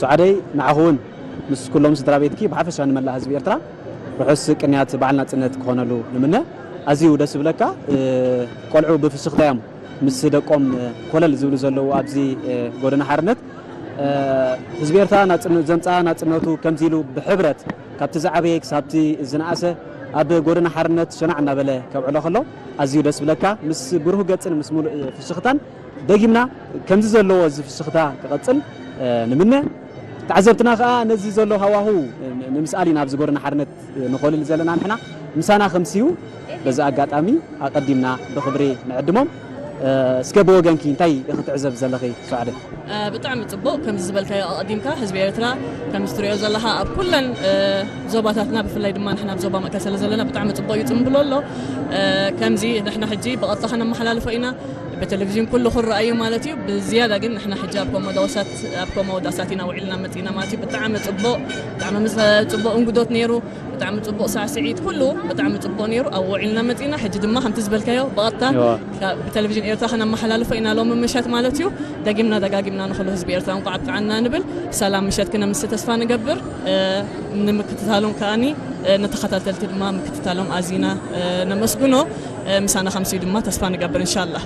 ሱዓደይ፣ ንዓኹ እውን ምስ ኩሎም ስድራ ቤትኪ ብሓፈሻ ንመላእ ህዝቢ ኤርትራ ርሑስ ቅንያት በዓል ናጽነት ክኾነሉ ንምነ። ኣዝዩ ደስ ዝብለካ፣ ቆልዑ ብፍሽኽታ እዮም ምስ ደቆም ኮለል ዝብሉ ዘለዉ ኣብዚ ጎደና ሓርነት። ህዝቢ ኤርትራ ዘምጽኣ ናጽነቱ ከምዚ ኢሉ ብሕብረት ካብቲ ዝዓበየ ክሳብቲ ዝነኣሰ ኣብ ጎደና ሓርነት ሸናዕ እናበለ ከብዕሎ ከሎ ኣዝዩ ደስ ዝብለካ፣ ምስ ብሩህ ገጽን ምስ ሙሉእ ፍሽኽታን ደጊምና ከምዚ ዘለዎ እዚ ፍሽኽታ ክቐጽል ንምነ። ተዓዘብትና ከኣ ነዚ ዘሎ ሃዋሁ ንምስኣል ኢና ኣብዚ ጎደና ሓርነት ንኾልል ዘለና ንሕና። ምሳና ከምስዩ በዚ ኣጋጣሚ ኣቐዲምና ብኽብሪ ንዕድሞም። እስከ ብወገንኪ እንታይ ክትዕዘብ ዘለኺ ሱዓደ? ብጣዕሚ ጽቡቕ። ከምዚ ዝበልካዮ ኣቐዲምካ ህዝቢ ኤርትራ ከምዚ ትሪኦ ዘለኻ ኣብ ኩለን ዞባታትና ብፍላይ ድማ ንሕና ኣብ ዞባ መእከል ስለ ዘለና ብጣዕሚ ጽቡቕ እዩ ጽምብሎ ኣሎ። ከምዚ ንሕና ሕጂ ብቐጥታ ከነመሓላልፎ ኢና። ብቴሌቪዥን ኩሉ ክረኣዩ ማለት እዩ። ብዝያዳ ግን ንሕና ሕጂ ኣብ ኮሞዳውሳት ኣብ ኮሞዳሳት ኢና ውዒልና መጺና ማለት እዩ። ብጣዕሚ ጽቡቕ ብጣዕሚ ምስ ጽቡቕ እንግዶት ነይሩ። ብጣዕሚ ጽቡቕ ሳዕስዒት ኩሉ ብጣዕሚ ጽቡቕ ነይሩ። ኣብ ውዒልና መጺና ሕጂ ድማ ከምቲ ዝበልካዮ ብቐጥታ ብቴሌቪዥን ኤርትራ ከነመሓላልፎ ኢና ሎሚ ምሸት ማለት እዩ። ደጊምና ደጋጊምና ንኹሉ ህዝቢ ኤርትራ እንቋዕ ኣብቅዓና ንብል። ሰላም ምሸት ክነምሲ ተስፋ ንገብር። ንምክትታሎም ከኣኒ ንተኸታተልቲ ድማ ምክትታሎም ኣዚና ነመስግኖ። ምሳና ከምሲ ድማ ተስፋ ንገብር እንሻላ።